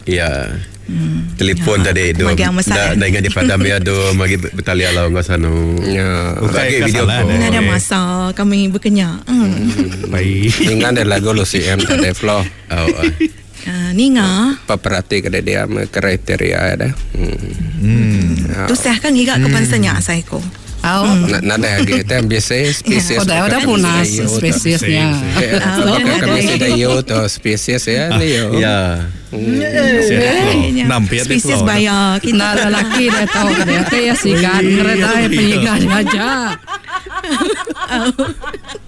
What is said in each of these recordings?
Ya. Telefon tadi tu. Dah dah ingat dipadam ya tu magi bertalian lah enggau sanu. Ya. Ukai video call. Ada masa kami berkenya. Baik. Ninga ada lagu lu CM tadi flow. Oh. Ninga. Peperhati ke dia kriteria ada. Tusah kan ngiga ke bansa nya asai ko. Oh. Nada lagi itu biasa spesies. Oh, dah punas spesiesnya. Kami sudah yo tu spesies ya ni yo. Ya. Spesies baya kita lelaki dah tahu dia teh ya sigan ngeretai penyigan aja.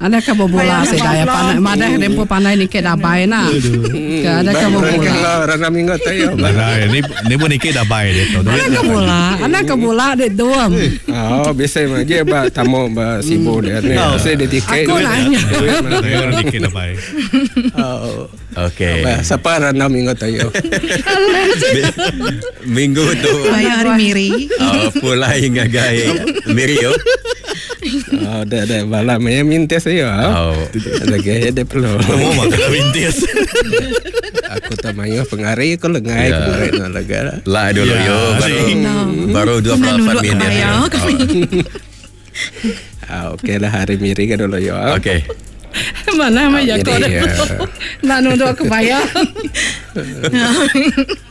Ada ke bola sih daya pandai madah dempo pandai ni ke dabai na. Ke ada ke bola. Rana minggu tu yo. Ni ni pun nikit dabai dia tu. Ada ke bola, ada ke bola dia dua. Oh, biasa mah je ba tamu ba sibuk dia ni. Biasa dia tiket. Aku nanya. Nikit dabai. Oh. Okey. Siapa rana minggu tu yo? Minggu tu. Bayar hari Miri. Oh, pulai ngagai Miri yo. Oh, dah dah malam ya mintis yo. Oh. Lagi dia perlu. Kamu makan mintis. Aku tak mayu pengari aku lengai pengari nak lega lah. Lah dulu yo baru 28 minit. Ah, okey lah hari Miri ke dulu yo. Okey. Mana mah ya kau nak nunduk kebaya.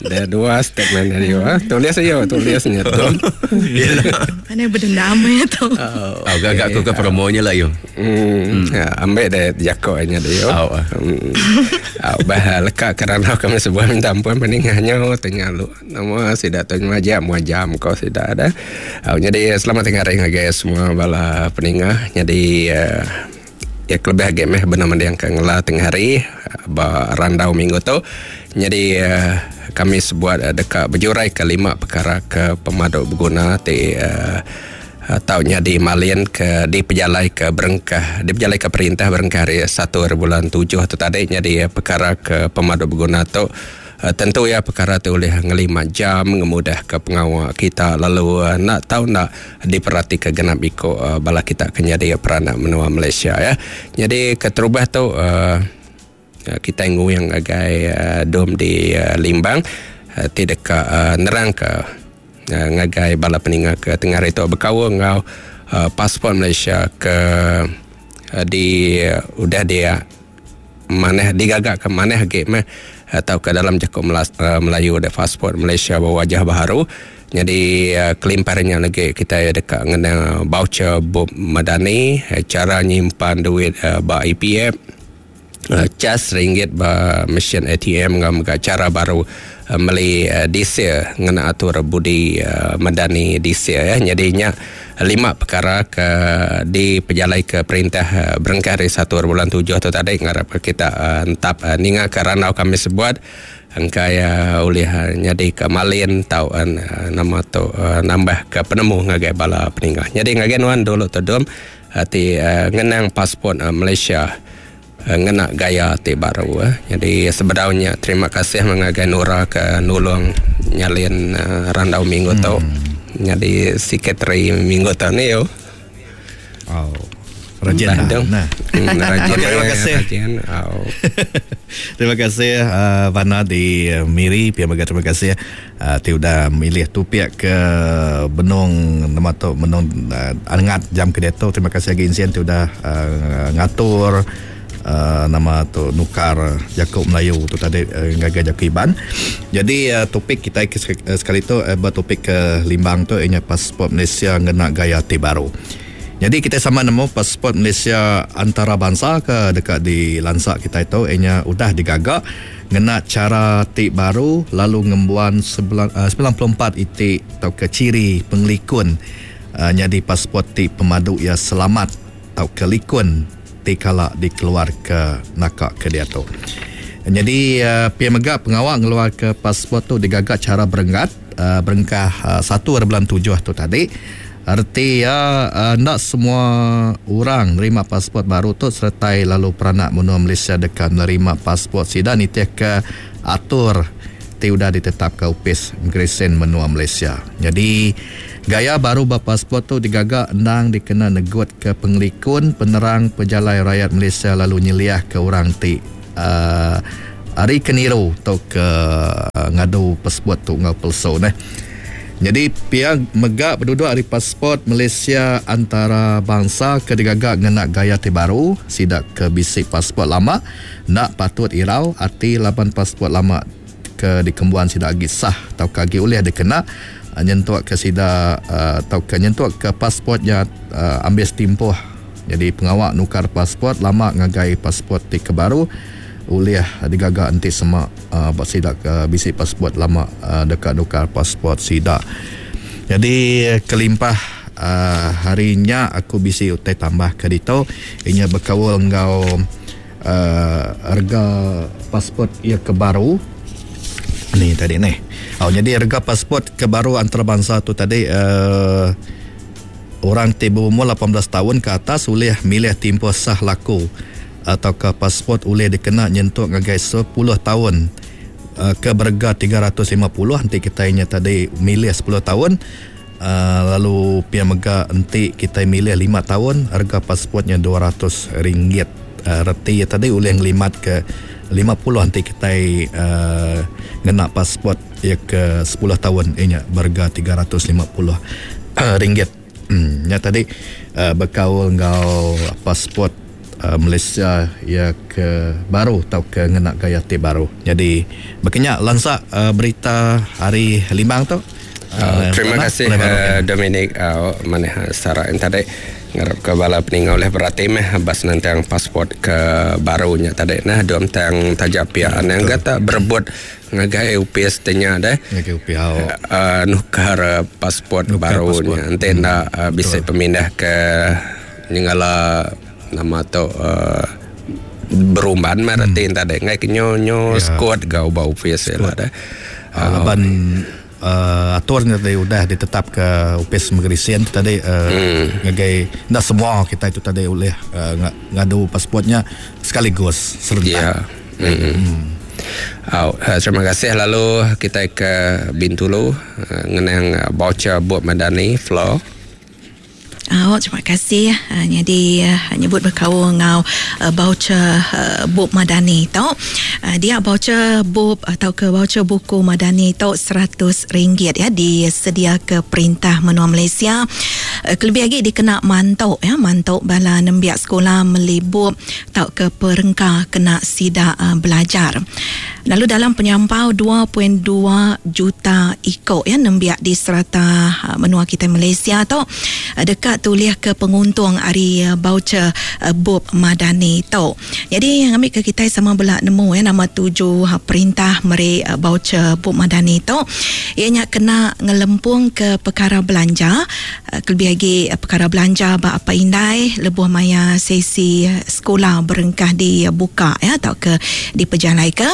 Ada dua statement dari yo. Tulis aja, tulisnya tu. Mana berdendam ya tu. Oh, gagak aku ke promonya lah yo. Ambil deh jakoknya dia yo. Bah lekak kerana kami sebuah minta ampun peningahnya tanya lu. Nama sudah tanya jam jam kau sudah ada. Jadi selamat tengah hari guys semua bala peningah. Jadi ya kelebih game eh benar yang ke ngela tengah hari ba randau minggu tu. Jadi kami sebuat dekat berjurai ke 5 perkara ke pemaduk berguna ti taunya di Malian ke di pejalai ke berengkah di pejalai ke perintah berengkah hari 1 bulan 7 tu tadi. Jadi perkara ke pemaduk berguna tu tentu ya perkara tu oleh ngelima jam ngemudah ke pengawal kita lalu nak tahu nak diperhati ke genap ikut bala kita kena dia peranak menua Malaysia ya. Jadi keterubah tu kita nguyang agai dom di Limbang tidak ke nerang ke ngagai bala peningah ke tengah itu berkawal ngau pasport Malaysia ke di udah dia maneh digagak ke maneh ge meh atau ke dalam jakuk Melayu ada pasport Malaysia berwajah baru. Jadi kelimparnya lagi kita dekat ngena voucher Bob Madani, cara nyimpan duit ba EPF, cas ringgit ba mesin ATM ngam cara baru meli diesel ngena atur budi Madani diesel ya. Jadinya 5 perkara ke di pejalai ke perintah berengkah hari 1 bulan 7 tu tadi ngarap kita entap ninga ke ranau kami sebuat engkai oleh nyadi ke malin tau nama tu nambah ke penemu ngagai bala peningah. Jadi ngagai nuan dulu tu dom ti ngenang pasport Malaysia ngena gaya ti baru. Jadi sebenarnya terima kasih mengagai Nura ke nulung nyalin randau minggu tu. Jadi sekretari minggu tu ni yo. Oh. Rajin nah. Rajin. Terima kasih. Rajin. Oh. Terima kasih Vana di Miri, pihak mega terima kasih ti udah milih tu pihak ke benung nama tu benung angat jam ke tu. Terima kasih lagi Insien ti udah ngatur nama tu nukar Jakub Melayu tu tadi ngagai Jakub Iban. Jadi topik kita sekali tu bertopik ke Limbang tu ianya pasport Malaysia ngena gaya ti baru. Jadi kita sama nemu pasport Malaysia antarabangsa ke dekat di lansak kita itu ianya udah digagak ngena cara ti baru lalu ngembuan 94 itik atau ke ciri pengelikun jadi pasport ti pemadu ia selamat atau ke likun ti kala dikeluar ke nakak ke dia tu. Jadi pihak mega pengawal ngeluar ke pasport tu digagak cara berenggat berengkah 1 bulan 7 tu tadi. Arti ya nak semua orang nerima pasport baru tu sertai lalu peranak menua Malaysia dekat menerima pasport sida nitih ke atur ti udah ditetapkan upis Immigration menua Malaysia. Jadi gaya baru berpasport tu digagak endang dikena negut ke pengelikun penerang pejalai rakyat Malaysia lalu nyeliah ke orang ti hari keniru atau ke ngadu passport tu enggau pelesu neh. Nyadi pia mega beduduk ari passport Malaysia antarabangsa ke digaga ngena gaya ti baru, sida ke bisi passport lama enda patut irau ati laban passport lama ke dikembuan sida agi sah tauka agi ulih dikena nyentuk ke sida tauka nyentuk ke passport nya ambis timpuh. Nyadi pengawa nukar passport lama ngagai passport ti ke baru ulih digaga enti sema ba sida ke bisi passport lama deka nukar passport sida. Nyadi kelimpah hari nya aku bisi utai tambah ke ditu inya bekaul enggau rega passport iya ke baru ni tadi neh. Nyadi rega passport ke baru antarabangsa tu tadi uhh Orang ti beumur 18 taun ke atas ulih milih timpuh sah laku tauka pasport ulih dikena nyentuk ngagai sepuluh taun ke berega 350 enti kitai nya tadi milih sepuluh taun lalu pia mega enti kitai milih lima taun rega pasport nya 200 ringgit. Reti iya tadi ulih ngelimat ke 50 enti kitai ngena pasport iya ke sepuluh taun iya nya berega 350. Ringgit. Nya tadi bekaul enggau passport Malaysia iya ke baru tauka ngena gaya ti baru. Nyadi baka nya lansa berita hari Limbang tu. Terima kasih Dominic manah sara en tadi. Ngarap ke bala peninga ulih berati meh ba senentang passport ke baru nya tadi nah dua mentang taja pia anang ga tak berebut Ngagai opis ti nya deh. Ngagai opis au. Uh, nukar pasport nukar baru pasport. nya. Enti enda uh, bisi pemindah ke nyengala nama tu uh, berumban meh reti hmm. tadi ngai ke nyo nyo yeah. squad ga ba opis ila deh. Uh, laban uh, atur nya tadi udah ditetap ke opis Migration tu tadi uh, hmm. ngagai enda semua kita itu tadi ulih uh, ngadu pasport nya sekaligus serentak. Yeah. Hmm. Hmm. Au, terima kasih lalu kitai ke Bintulu ngenang voucher Bup Madani Flo. Au, terima kasih nyadi nyebut bekaul enggau voucher Bup Madani tu. Dia voucher bup tauka voucher buku Madani tu seratus ringgit ya disediaka perintah menua Malaysia kelebih agi dikena mantu ya mantu bala nembiak sekula meli bup tauka perengka kena sida belajar. Lalu dalam penyampau 2.2 juta iko ya nembiak di serata menua kitai Malaysia tu deka tulihka penguntung ari baucher bup Madani tu. Nyadi ngambika kitai sama bela nemu ya nama tuju perintah meri baucher bup Madani tu iya nya kena ngelempungka pekara belanja Kelebih agi pekara belanja ba apai indai lebuh maya sesi sekula berengkah dibuka ya tauka dipejalaika.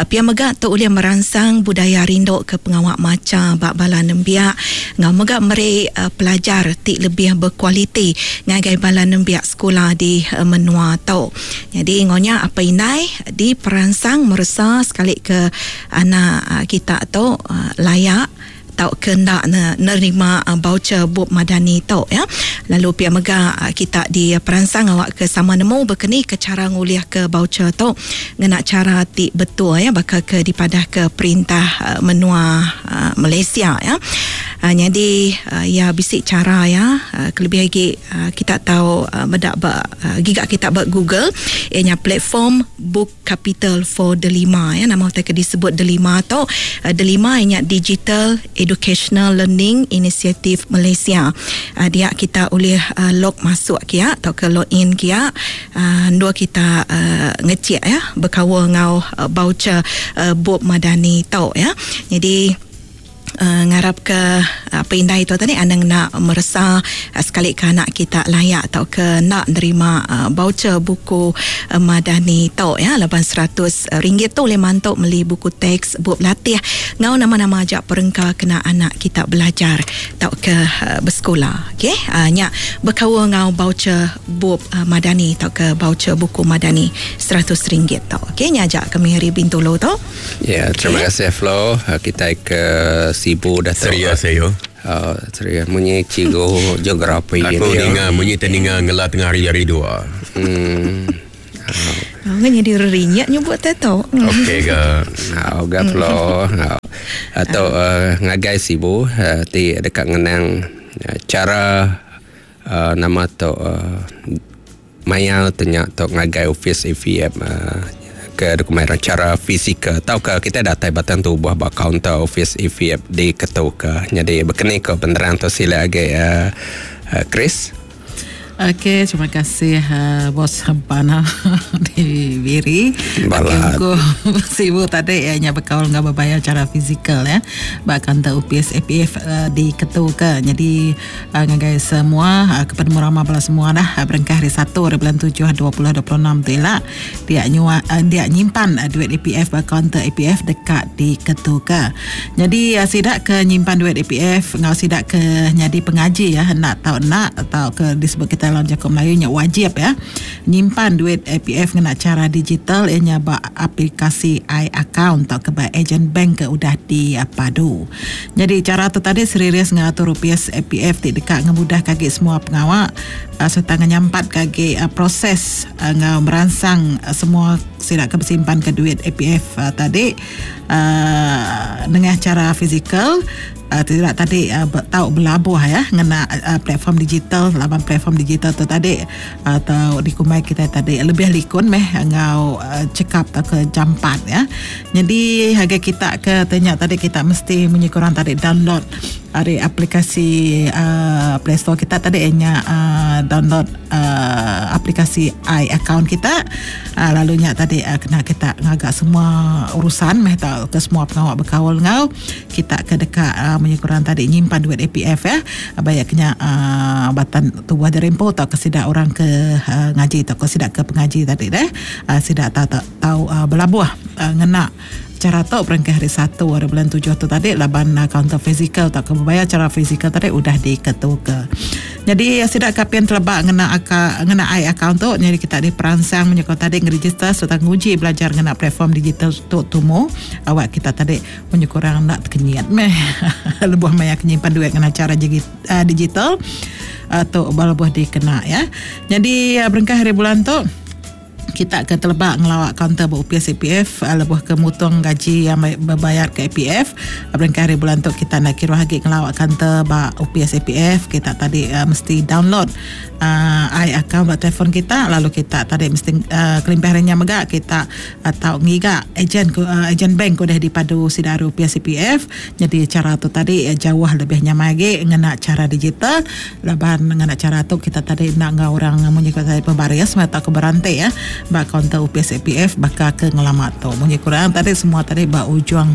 Pia mega tu ulih meransang budaya rindu ke pengawa macha ba bala nembiak enggau mega meri pelajar ti lebih bekualiti ngagai bala nembiak sekula di menua tu. Nyadi enggau nya apai indai diperansang meresa sekali ke anak kita tu layak tauka enda nerima baucher bup Madani tu ya. Lalu pia mega kita diperansang awakka sama nemu bekeni ke chara ngulihka baucher tu ngena chara ti betul ya baka ke dipadahka perintah menua Malaysia ya. Nyadi iya bisi chara iya kelebih agi kita tau meda ba giga kita ba Google iya nya platform Book Capital for Delima ya nama utai ke disebut Delima tu Delima iya nya Digital Educational Learning Initiative Malaysia. Dia kita ulih log masuk kia tauka log in kia endur kita ngecik ya bekaul enggau baucher bup Madani tu ya. Nyadi Ngarapka apai indai tu tadi anang enda meresa sekalika anak kita layak tauka enda nerima baucher buku Madani tu ya laban 100 ringgit tu ulih mantu meli buku teks, bup latih enggau nama-nama aja perengka kena anak kita belajar tauka besekula. Okey nya bekaul enggau baucher bup Madani tauka baucher buku Madani 100 ringgit tu. Okey nya aja kami ari Bintulu tu. Ya, terima kasih Flo. Kitai ke Sibu dah tu. Serius ayo. Oh, serius munyi cikgu geografi Aku ninga munyi te ninga ngela tengah hari hari dua. Ngan jadi rerinyak nyebut tu. Okey ke. Au ga Flo. Atau ngagai Sibu ti deka ngenang cara nama tu maya tanya tu ngagai office EPF ke dokumen cara fizikal tauka kita datai batang tubuh ba kaunter office EPF di Ketu ke. Jadi berkeni ke penerang tu sila agi Chris. Okey, terima kasih bos Bana di Miri. Okey, aku Sibu tadi ya nya bekaul enggau bebayar cara fizikal ya. Ba kaunter office APF di Ketu ke. Jadi ngagai semua kepada ramah bala semua dah berengkah hari 1 hari bulan 7 2026 tu ila dia nyua dia nyimpan duit APF ba kaunter APF dekat di Ketu ke. Jadi sidak ke nyimpan duit APF ngau sidak ke nyadi pengaji ya nak tau nak atau ke disebut kita dalam jaku Melayu nya wajib ya nyimpan duit APF ngena cara digital ianya ba aplikasi i-account atau ke ba agent bank ke udah dipadu. Jadi cara tu tadi seriris ngatur rupiah APF ti dekat ngemudah kagi semua pengawak serta ngenyampat kagi proses ngau merangsang semua sidak ke bersimpan ke duit APF tadi dengan cara fizikal. Tidak tadi tahu belabuh ya ngena platform digital laban platform digital tu tadi atau dikumai kita tadi lebih likun meh ngau cekap atau ke jampat ya. Jadi harga kita ke tanya tadi kita mesti munyi kurang tadi download dari aplikasi Play Store kita tadi nya download aplikasi i-account kita lalunya tadi kena kita ngagak semua urusan meh tau ke semua pengawak berkawal ngau kita ke dekat munyi kurang tadi nyimpan duit APF ya banyak kena batan tubuh derempo atau ke sidak orang ke ngaji atau ke sidak ke pengaji tadi deh sidak tahu belabuh ngena cara tu berangkat hari 1 hari bulan 7 tu tadi laban kaunter fizikal atau ke berbayar cara fizikal tadi udah diketu ke. Jadi sidak kapian telebak ngena ngena i-account tu jadi kita diperangsang menyokong tadi ngeregister serta nguji belajar ngena platform digital tu tumu awak kita tadi menyekurang nak terkenyit meh lebuh maya kenyimpan duit ngena cara digital atau balabuh dikena ya. Jadi berengkah hari bulan tu kita ke telebak ngelawak kaunter berupiah CPF lebuh ke mutung gaji yang berbayar ke APF berengkah hari bulan tu kita nak kira lagi ngelawak kaunter ba UPS CPF kita tadi mesti download i-account buat telefon kita lalu kita tadi mesti kelimpah harinya megak kita atau ngiga ejen ejen bank udah dipadu sidaru UPS CPF. Jadi cara tu tadi jauh lebih nyaman lagi ngena cara digital laban ngena cara tu kita tadi nak ngau orang munyi kata pembaris atau ke berantai ya ba kaunter UPS APF bakal ke ngelamat tu munyi kurang tadi semua tadi ba ujung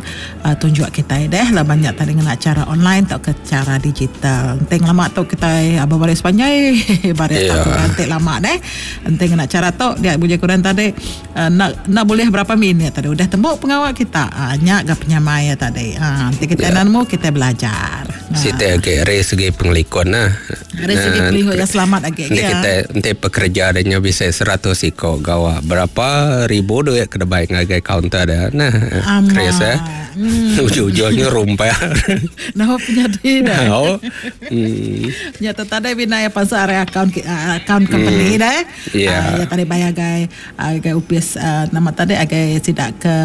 tunjuk kita deh lah banyak tadi ngena cara online atau ke cara digital. Penting lama tu kita baris panjai baris tak berantai lama deh. Penting ngena cara tu dia bunyi kurang tadi nak boleh berapa minit tadi udah tembok pengawal kita nyak ga penyamai ya tadi. Nanti kita nemu kita belajar. Sita ke dari segi pengelikon nah. Dari segi pengelikon yang selamat lagi. Nanti kita nanti pekerja adanya bisa 100 iko gawa berapa ribu duit ke debai ngagai kaunter dah. Nah, Chris ya. Ujung-ujungnya rumpah. Nah, punya dia. Oh. Ya tadi bina ya pasal area account company dah. Ya tadi bayar gai gai UPS nama tadi agai tidak ke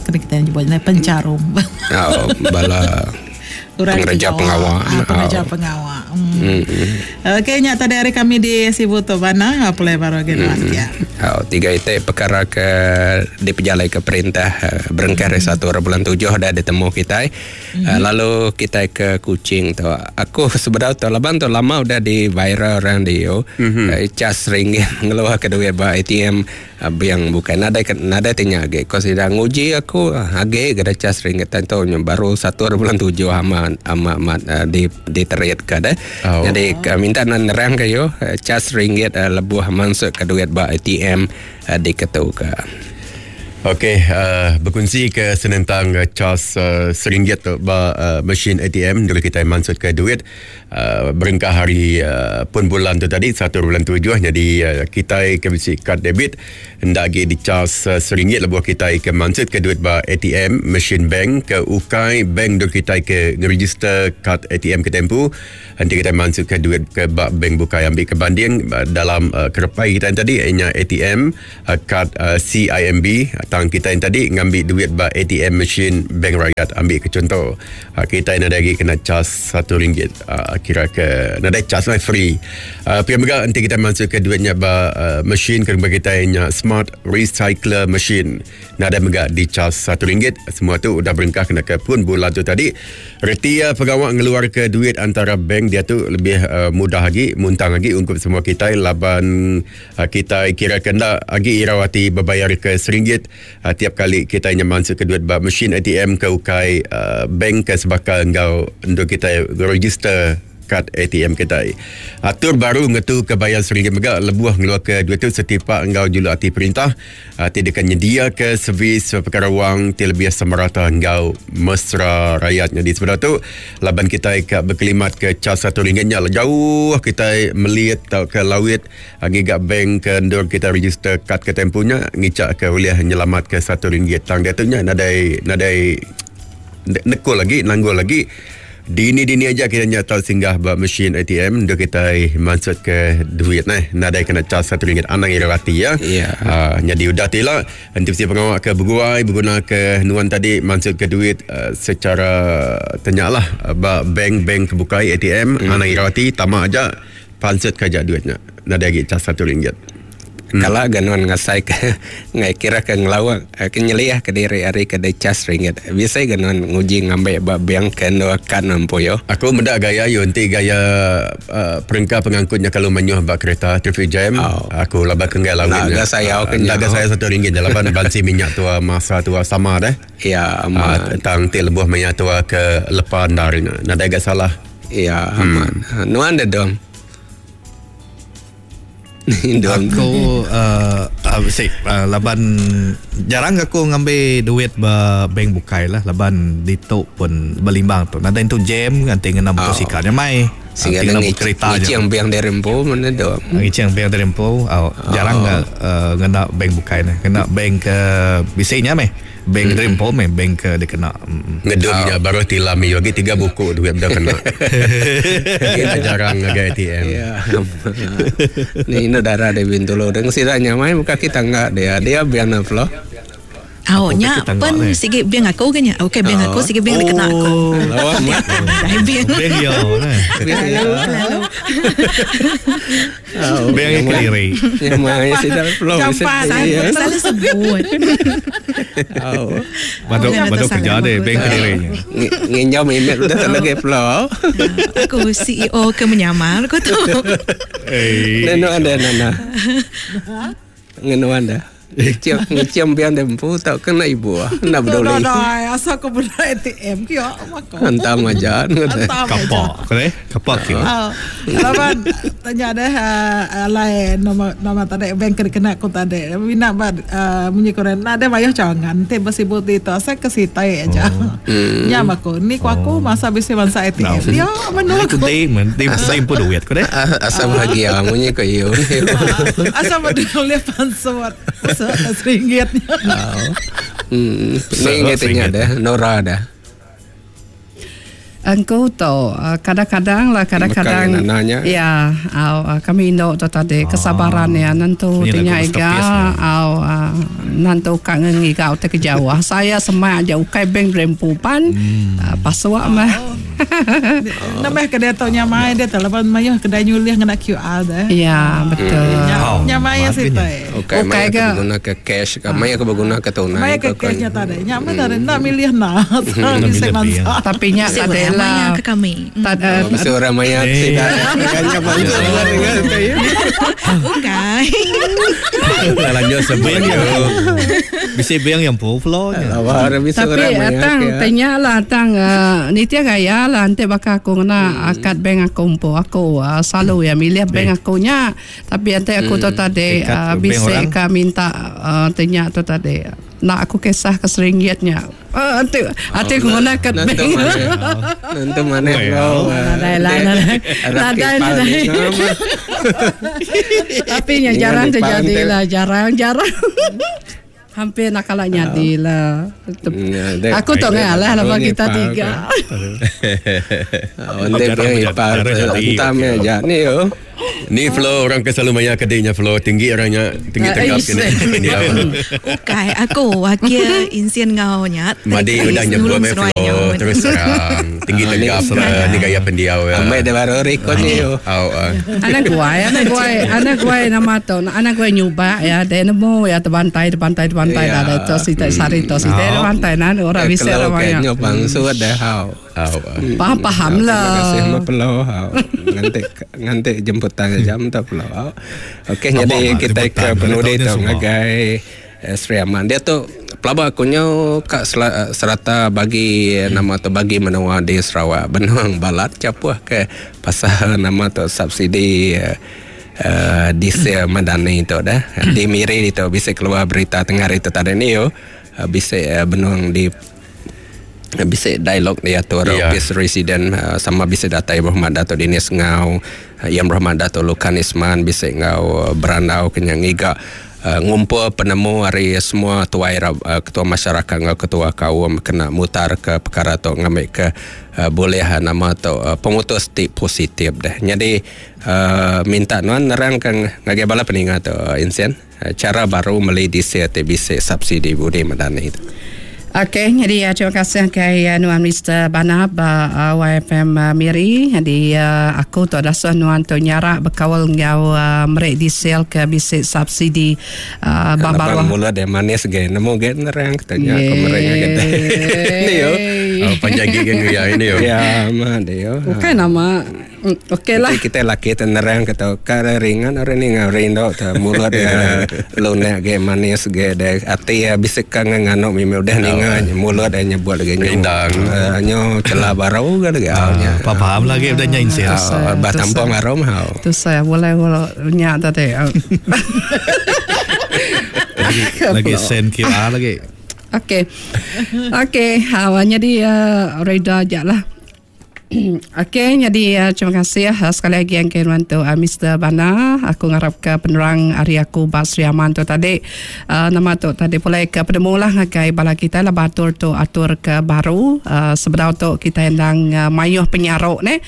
kena kita nyebutnya pencarum. Oh, bala pengerja pengawal. Pengerja pengawal. Okey, nya tadi hari kami di Sibu tu mana apa baru gini ya. Oh, tiga itu perkara ke dipejalai ke perintah berengkah hari 1 bulan 7 dah ditemu kita. Lalu kita ke Kuching tu. Aku sebenarnya tu laban tu lama udah di viral orang di yo. Cas ringgit ngeluar ke duit ba ATM yang bukan nada tanya age. Kau sedang nguji aku age ke cas ringgit tentu baru 1 bulan 7 amat di diterit ke deh. Oh. Jadi minta nerang ke yo cas ringgit lebuh masuk ke duit ba ATM diketu ke. Okey, uh, berkunsi ke senentang uh, cas uh, seringgit tu ba uh, mesin ATM dulu kita mansut ke duit uh, berengkah hari uh, pun bulan tu tadi 1 bulan 7 jadi uh, kita ke bisi kad debit enda agi dicas uh, seringgit lebuh kita ke mansut ke duit ba ATM mesin bank ke ukai bank dulu kita ke ngeregister kad ATM ke tempu Enti kitai mansutka duit ke ba bank bukai ambi ke banding dalam kerepai kitai tadi iya nya ATM kad CIMB tang kitai tadi ngambi duit ba ATM machine Bank Rakyat ambi ke chunto kitai nadai agi kena cas satu ringgit kira ke nadai cas lah free. Pia mega enti kitai mansutka duit nya ba machine ke rumah kitai nya smart recycler machine. Nadai mega dicas satu ringgit. Semua tu udah berengkah kena ke pun bulan tu tadi. Reti iya pengawa ngeluarka duit antara bank diatu lebih uh, mudah agi, muntang agi ungkup semua kitai laban uh, kitai kira ke enda agi irau ati bebayar ke seringgit uh, tiap kali kitai nya mansutka duit ba mesin ATM ke ukai uh, bank ke sebaka enggau endur kitai register kad ATM kitai. Atur baru ngetu ke bayar seringgit mega lebuh ngeluarka duit tu setipak enggau juluk ati perintah ti deka nyediaka servis pekara wang ti lebih semerata enggau mesra rayat. Nyadi sebedau tu laban kitai ka bekelimat ke cas satu ringgit nya jauh kitai melit tauka lawit ngiga bank ke endur kitai register kad kitai empu nya ngicha ke ulih nyelamat ke satu ringgit. Tang diatu nya nadai nadai nekul agi nanggul agi. Dini-dini aja kita nya tau singgah ba mesin ATM endur kitai mansut ke duit neh. Nadai kena cas satu ringgit anang irau ati ya. Ya. Uh, nyadi udah ti ila enti bisi pengawa ke beguai beguna ke nuan tadi mansut ke duit uh, secara tenya lah ba bank-bank ke bukai ATM anang irau ati tama aja pansut ke aja duit nya. Nadai agi cas satu ringgit. Kala ga nuan ngasai ke ngai kira ke ngelawa ke nyeliah ke diri ari ke dicas ringgit. Bisi ga nuan nguji ngambi ba bank ke endur kad nuan empu yo. Aku meda gaya yu enti gaya uhh perengka pengangkut nya kelalu mayuh ba kereta traffic jam Oh. aku laban ke enggai lawin Enda ga sayau ke enda nya. ga sayau satu ringgit nya laban bansi minyak tua masa tua sama deh. Ya Uhh amat. tang ti lebuh maya tua ke lepa endar nya nadai ga salah. Ya amat. Nuan deh dom. Aku uh, uh, sik uh, laban jarang aku ngambi duit ba bank bukai lah laban ditu pun belimbang tu. Nadai entu jam nganti ngena motosikal nya mai. Sehingga Ngena ngi kereta aja. ngicing bank dari empu mana tu. Ngicing bank dari empu oh, jarang oh. Uh, ngena bank bukai nah. Ngena bank ke bisi nya meh. Bank mm. Empu meh bank ke dikena. Mm. Ngedum nya baru tilam iyo agi tiga buku duit beda kena. Agi jarang ngagai ATM. Ya. Ni inu darah di Bintulu. Deng sida nyamai buka kita enggak dia. Dia biar na flow. Au nya pen sigi bing aku ke nya. Okey bing aku sigi bing dikena aku. Lawa amat. Dai bing. Bing yo. Selalu. Bing yang kediri. Nyamai sida flow. Jampan. Selalu sebut. Badu badu kerja deh bing kediri nya. Nginjau email udah tak lagi flow. Aku CEO ke menyamar aku tu. Eh. Nenu anda nana. Ngenu anda. Ngicium ngicium biar dia empu tak kena ibu ah. Nak peduli. Dah, asal aku benda ATM ke ya, maka. Hantam aja. Hantam aja. Kapak ke Kapak ke. Oh, laban tanya deh alai nama nama tadi bank ke kena aku tadi. Mina ba munyi koren na deh mayuh cawangan ti bersibut di tu asal ke sitai aja. Nya aku ni ku aku masa bisi bangsa ATM. Dia menu Aku aku. di men di di empu duit ko deh. Asal bahagia munyi ko iyo. Asal peduli pansut. Seringgit. Hmm. Ni ingatnya dah Nora dah. Engkau tu kadang-kadang lah kadang-kadang Bukan nanya. ya au kami indo tu tadi kesabaran ya nentu Ini lagu tinya iga masterpiece ni. au nantu kak ngengi kau te ke jauh saya semak aja ukai bank rempupan pasuak mah Nama kedai tu nyamai dia tu laban mayuh kedai nyulih ngena QR dah. ya betul Nya- Nyamai Oh, sitai. Okey, Okey maya ke? ke guna ke cash, ke maya ke berguna ke tunai. Maya ke cashnya tadi. Nya mah tadi nak milih nak. Bisa milih mansa. tapi nya Bisi tadi orang maya lah ke kami. tak Oh, bisa orang maya Eh. tidak. Kayaknya bantu dengan saya. Bukan. Lanjut sebut Bing yo. yang Bisi bing yang empu flow nya. Awak bisa tapi orang maya. atang tanya lah atang nitia gaya Iya lah enti baka aku ngena kad bank aku empu aku selalu iya milih bank aku nya. Tapi enti aku tu tadi bisi ka minta ti nya tu tadi enda aku kisah ke seringgit nya. Enti ati aku ngena kad bank. Nentu manah enggau. Nadai lah nadai. Nadai nadai. Tapi nya jarang terjadi lah jarang jarang. Hampir nak kala nyadi lah. Aku tu ngai alah laban kita tiga. Entam aja ni yo. Ni flow orang ke selalu maya ke nya flow tinggi orang nya tinggi tegap kene. Ukai aku wakil insin ngau nya. Madi udah nyebut meh flow terus terang tinggi tegap ni gaya pendiau ya. Amai dah baru rekod ni yo. Au. Anak guai, anak guai, anak guai nama tu. Anak guai nyubak ya, dia nemu ya terbantai, terbantai, terbantai dah dah tu sita sari tu sita terbantai nan orang bisa orang banyak. Kalau bangsu dah hau. Faham faham lah. Terima kasih ma pelau hau. Nganti nganti jemputan jam tu pelau. Okey jadi kita ke penudi tu ngagai Sri Aman. Dia tu pelaba aku nyau ka serata bagi nama tu bagi menua di Sarawak benung balat chapuh ke pasal nama tu subsidi uh, diesel Madani tu dah. Di Miri tu bisi keluar berita tengah hari tu tadi ni yo bisi benung di bisi dialog diatur yeah. Office Resident sama bisi datai Berhormat Dato' Dinis ngau Yang Berhormat Dato' Lukan Isman bisi ngau berandau ke nya ngiga ngumpul penemu ari semua tuai ketua masyarakat enggau ketua kaum kena mutar ke perkara tu ngambi ke bulih nama tu pemutus ti positif deh. Nyadi minta nuan nerang ke ngagai bala peninga tu Insen chara baru meli diesel ti bisi subsidi Budi Madani tu. Okey, nyadi terima kasih ngagai nuan Mister Banap ba YFM Miri. Nyadi aku tu dasuh nuan tu nyarak bekaul enggau meri diesel ke bisi subsidi ba baruh. Laban mulut dia manis ge nemu ge nerang ke nya aku meri ngagai deh. Ni yo. Panjai gi ke nguya ini yo. Ya ma dia. Bukai nama. Okey lah. Kita laki tu nerang ke tu ka ringan orang ni ngau rindu tu mulut dia lunak ge manis ge de ati ya bisi ka nganu mimi udah ninga mulut dia nyebut lagi nyu. Rindang. Nyu celah baru ke lagi nya. Faham lagi udah nya insil. Bah tampung arum hau. Tu saya boleh boleh nya tadi. Lagi send QR lagi. Okey. Okey, jadi reda aja lah. Okey, nyadi terima kasih sekali agi engke nuan tu Mister Bana. Aku ngarap ke penerang ari aku ba Sri Aman tu tadi nama tu tadi pulai ke penemu lah ngagai bala kitai laban atur tu atur ke baru sebedau tu kitai endang mayuh penyaruk neh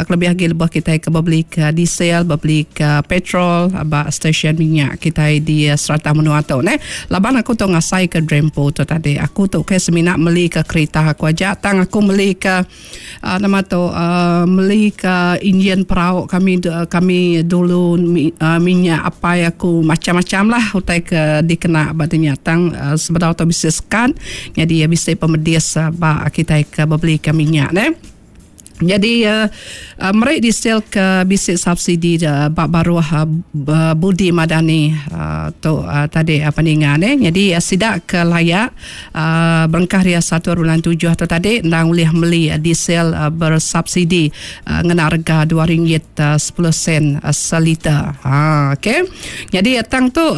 kelebih agi lebuh kitai ke bebeli ke diesel bebeli ke petrol ba stesen minyak kitai di serata menua tu neh. Laban aku tu ngasai ke Drempo tu tadi aku tu ukai semina meli ke kerita aku aja tang aku meli ke Nama tu meli ke injin perau kami kami dulu minyak apai aku macam-macam lah utai ke dikena ba dinya tang sebedau tu bisi sekat nyadi bisi pemedis ba kitai ke bebeli ke minyak neh. Nyadi meri diesel ke bisi subsidi ba baruh Budi Madani tu tadi peninga neh. Nyadi sida ke layak Berengkah ria satu bulan tujuh tu tadi endang ulih meli diesel bersubsidi ngena rega dua ringgit sepuluh sen seliter. Ha okey. Nyadi tang tu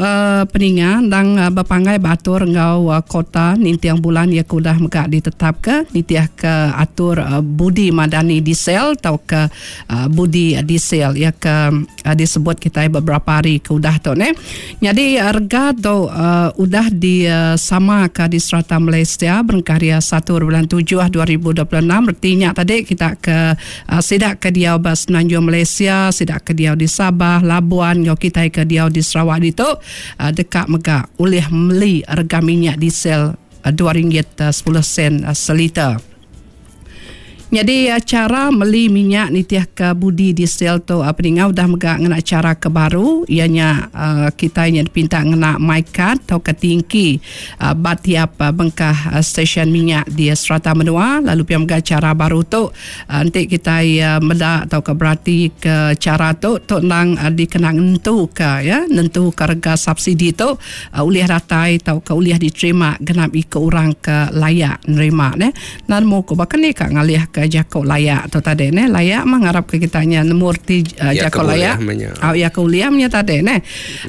peninga endang bepanggai ba atur enggau kota ninting bulan iya ke udah mega ditetapka nitihka atur Budi Madani Diesel tauka Budi Diesel iya ke disebut kitai beberapa hari ke udah tu neh. Nyadi rega tu udah disamaka di serata Malaysia berengkah ari satu bulan tujuh 2026 reti nya tadi kita ke sida ke diau ba Semenanjung Malaysia, sida ke diau di Sabah, Labuan enggau kitai ke diau di Sarawak ditu deka mega ulih meli rega minyak diesel dua ringgit sepuluh sen seliter. Nyadi chara meli minyak nitihka budi diesel tu peninga udah mega ngena chara ke baru iya nya kitai nya dipinta ngena MyKad tauka tingki ba tiap bengkah stesen minyak di serata menua lalu pia mega chara baru tu enti kitai meda tauka beratika chara tu tu endang dikena nentuka iya nentuka rega subsidi tu ulih datai tauka ulih diterima genap iku orang ke layak nerima neh. Enda nemu ku baka ni ka ngalih ke jaku layak tu tadi neh. Layak mah ngarap ke kita nya nemu reti jaku layak. Au iya ke ulih meh nya tadi neh.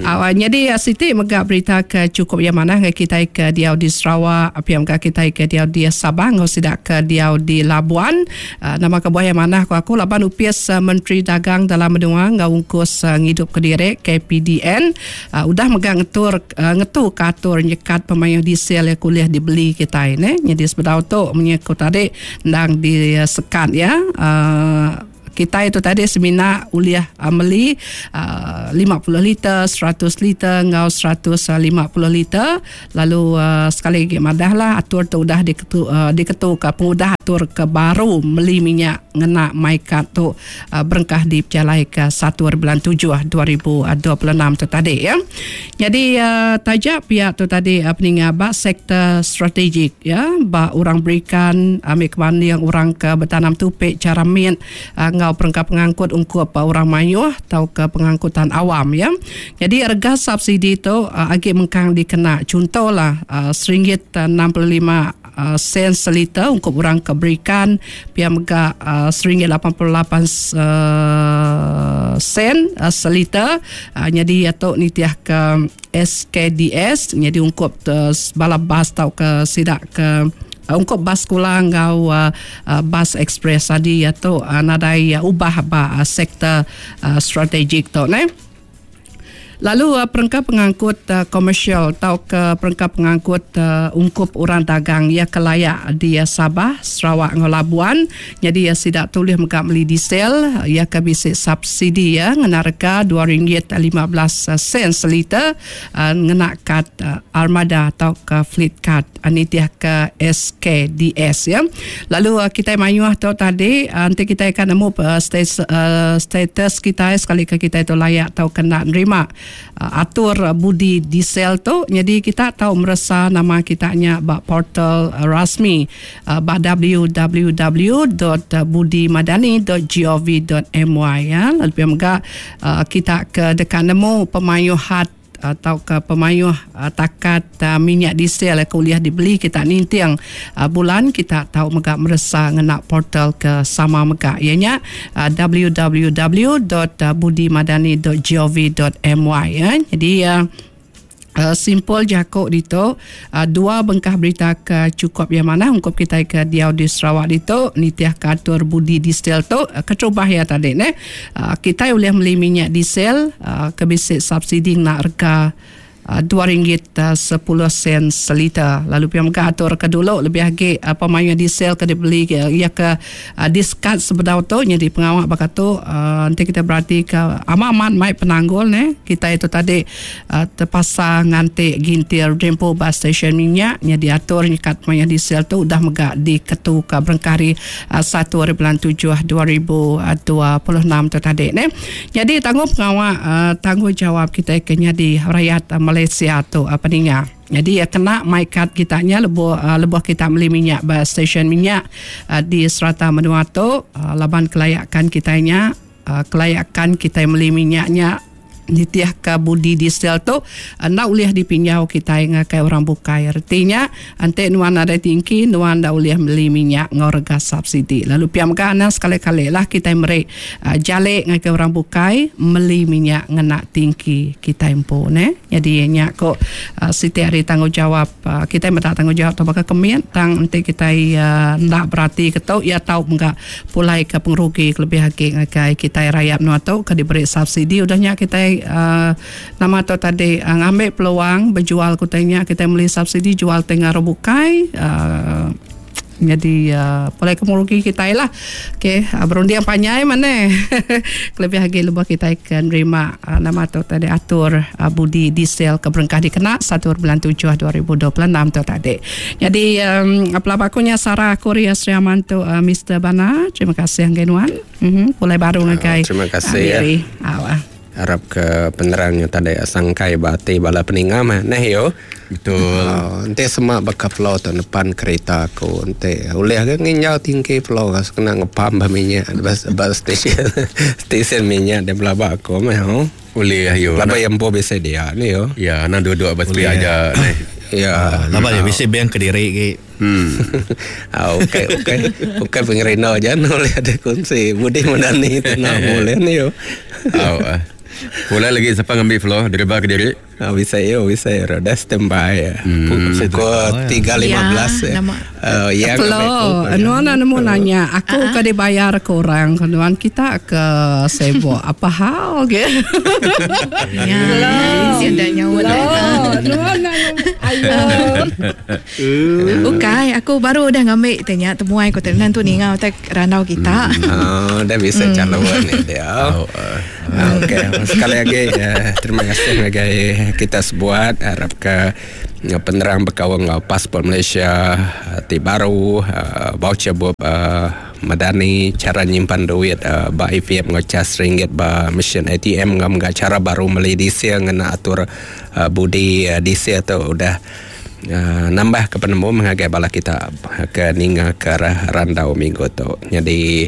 Au nyadi siti mega berita ke chukup iya manah ngagai kitai ke diau di Sarawak pia mega kitai ke diau di Sabah enggau sida ke diau di Labuan. Nama kebuah iya manah ku aku laban Opis Menteri Dagang Dalam Menua enggau Ungkus Ngidup Kediri, KPDN, udah mega ngetur ngetu ke atur nyekat pemayuh diesel iya ke ulih dibeli kitai neh. Nyadi sebedau tu munyi ku tadi endang disekat iya kitai tu tadi semina ulih meli 50 liter, 100 liter enggau 150 liter. Lalu sekali agi madah lah atur tu udah diketu diketuka pengudah atur ke baru meli minyak ngena MyKad tu berengkah dipejalaika satu ari bulan tujuh 2026 tu tadi ya. Nyadi taja pia tu tadi peninga ba sektor strategik ya ba orang berikan ambi ke banding orang ke betanam tupi chara mit enggau perengka pengangkut ungkup orang mayuh tauka pengangkutan awam ya. Nyadi rega subsidi tu agi mengkang dikena chuntolah seringgit 65 sen seliter ungkup orang ke berikan pia mega seringgit 88 sen seliter nyadi iya tu nitihka SKDS nyadi ungkup bala bas tauka sida ke ungkup bas sekula enggau bas ekspres adi iya tu nadai ubah ba sektor strategik tu neh. Lalu perengka pengangkut komersial tauka perengka pengangkut ungkup orang dagang iya ke layak di Sabah, Sarawak enggau Labuan nyadi sida tu ulih mega meli diesel iya ke bisi subsidi iya ngena rega RM2.15 sen seliter ngena kad Armada tauka Fleet Card nitihka SKDS ya. Lalu kitai mayuh tu tadi enti kitai ka nemu status kitai sekalika kitai tu layak tauka enda nerima atur budi diesel tu nyadi kita tau meresa nama kita nya ba portal rasmi ba www.budimadani.gov.my ya. Lalu pia mega kita ke deka nemu pemayuh had tauka pemayuh takat minyak diesel ke ulih dibeli kita ninting bulan kita tau mega meresa ngena portal ke sama mega iya nya www.budimadani.gov.my ya. Jadi simpul jaku ditu dua bengkah berita ke chukup iya manah ungkup kitai ke diau di Sarawak ditu nitihka atur budi diesel tu keterubah iya tadi neh. Kitai ulih meli minyak diesel ke bisi subsidi ngena rega RM2.10 seliter. Lalu pia mega atur ke dulu lebih agi pemayuh diesel ke dibeli iya ke disekat sebedau tu nyadi pengawa baka tu enti kitai beratika amat amat mai penanggul neh kitai tu tadi Tepasa nganti gintir dempo ba stesen minyak nya diatur nyekat mayuh diesel tu udah mega diketuka berengkah ari satu ari bulan tujuh 2026 tu tadi neh. Nyadi tanggung pengawa tanggungjawab kitai ke nyadi rayat Malaysia tu peninga. Nyadi kena mai kad kita nya lebuh lebuh kita meli minyak ba stesen minyak di serata menua tu laban kelayakan kitai nya kelayakan kitai meli minyak nya nitihka budi diesel tu enda ulih dipinjau kitai ngagai orang bukai. Reti nya enti nuan nadai tingki nuan enda ulih meli minyak enggau rega subsidi. Lalu pia mega anang sekali-kali lah kitai meri jali ngagai orang bukai meli minyak ngena tingki kitai empu neh. Nyadi nya ku siti ari tanggungjawab kitai meda tanggungjawab tu baka ke mit tang enti kitai enda berati ke tu iya tau mega pulai ke pengerugi kelebih agi ngagai kitai rayat menua tu ke diberi subsidi udah nya kitai uhh nama tu tadi ngambi peluang bejual ke utai nya kitai meli subsidi jual ti enggau orang bukai uhh nyadi uhh pulai ke pengerugi kitai lah. Okay berunding panjai maneh kelebih agi lebuh kitai ke nerima nama tu tadi atur budi diesel ke berengkah dikena satu bulan tujuh 2026 tu tadi. Nyadi pelaba aku nya sara aku ria Sri Aman tu Mister Bana. Terima kasih ngagai nuan. Pulai baru ngagai. Terima kasih ya. Arap ke penerang nya tadi sangkai ba ati bala peninga mah neh yo. Betul. Oh, enti sema baka flow tu nepan kereta aku enti ulih ke nginjau tingki flow kena ngepam ba minyak ba, ba stesen stesen minyak dia belaba aku meh oh. Ulih yo. Laban iya empu bisi dia ni yo. Ya, anang duduk ba sepi aja neh. Ya. Laban iya bisi bank kediri agi. Ah, okey okey. Okey pengerindu aja boleh ada kunci. Budi Madani tu nak boleh ni yo. Au. Ah. Pulai lagi siapa ngambil floor deriba ke diri? Ah, bisa yo, bisa yo. Dah standby ya. Pukul 3.15 Ya, ya. nama. Oh, ya Flo, nuan nemu nanya, aku ke dibayar ke orang, nuan kita ke sibuk apa hal ke? Ya, si dah nyawa Lo, dah. nuan nanya, ayo. Bukan, aku baru dah ngambil tanya temuai aku tenan tu ninga utai randau kita. Oh, dah bisa calon ni dia. Au. ah. Okey, sekali lagi terima kasih ngagai kita sebuat harap ke penerang berkawan dengan pasport Malaysia ti baru voucher bup Madani cara nyimpan duit ba ATM ngau cas ringgit ba mesin ATM ngau ngau cara baru meli diesel ngena atur budi diesel tu udah nambah ke penemu mengagai bala kita ke ninga ke arah randau minggu tu. Jadi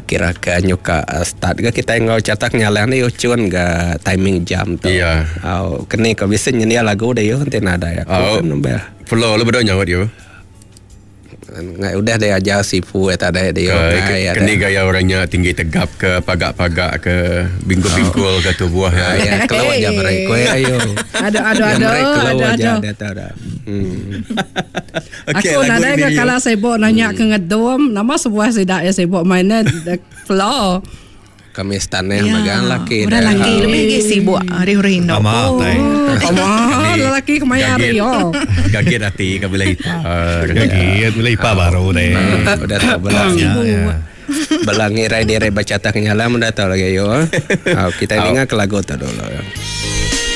kira ke nyuka start ke kita ngau catak nyalang ni ucun ke timing jam tu. Ya. Oh, kini kau bisa nyendia lagu deh yo nanti nada ya. Oh. Aku kan nambah. Floor lu berdua nyawa dia. Ngai udah dia ajar sifu eta ada dia. Ke, kini gaya orangnya tinggi tegap ke pagak-pagak ke bingkul-bingkul ke tubuh ya. Ya, keluar aja mereka ayo. Aduh, aduh, Yang aduh, mereka keluar aduh, aja aduh. dia tahu dah. Okey, Aku lagu nadai ini ke dia. kalau sibuk nanya ke ngedum, nama sebuah sidak ya sibuk mainnya flow. Kami staneh megang laki Orang dah. laki lebih lagi sibuk hari-hari nak. Amat, eh. Oh, lelaki kemaya hari yo. Gagit hati ke bila ipar. Gagit bila ipar baru deh. Udah tahu belang. Ya, ya. Belang ngirai diri baca tak nyala udah tahu lagi yo. Oh, kita dengar ke lagu tu dulu.